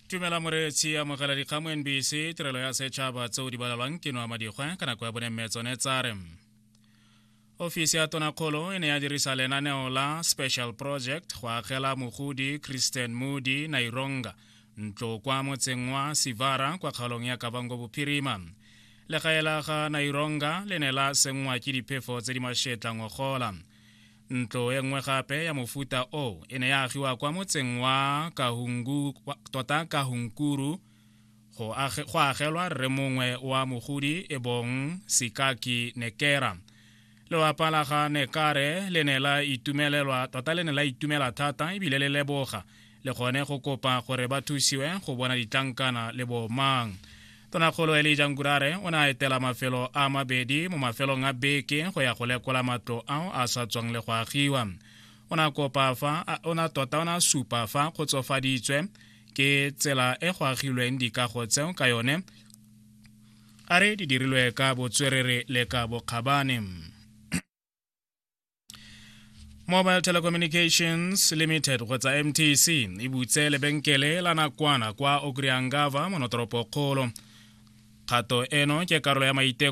Tumela moreetsi, amogela dikgang mo NBC, tirelo ya setšhaba tseo di balelwang ke noa madikgwe ka nako ya bone mme tsone tsa re ofisi ya tonakgolo e ne ya dirisa lenaneo la special project go agela mogodi Christian Moody Naironga ntlo kwa motseng wa Sivara kwa kgaolong ya Kavango Bophirima. Legae la ga Naironga le ne la senngwa ke diphefo tse di mashetla ngogola. Ntlo e nngwe gape ya mofuta o e ne ya agiwa kwa motseng wa Kahungu, tota Kahunkuru go, age, go agelwa rre mongwe wa mogodi e bong Sikaki Nekera. Lelapa la ga Nekare le ne la itumelelwa tota le ne la itumela thata ebile le leboga le gone go kopa gore ba thusiwe go bona ditlankana le bomang. Tonakgolo Elijah Ngurare o ne a etela mafelo a mabedi mo mafelong a beke go ya go lekola matlo ao a sa tswang le go agiwa. O ne a kopa fa o ne tota o ne a supa fa kgotsofaditswe ke tsela e go agilweng dikago tseo ka yone a re di dirilwe ka botswerere le ka bokgabane. Mobile Telecommunications Limited kgotsa MTC e butse lebenkele la nakwana kwa Okuryangava mo notoropokgolo. Kgato eno ke karolo ya maiteko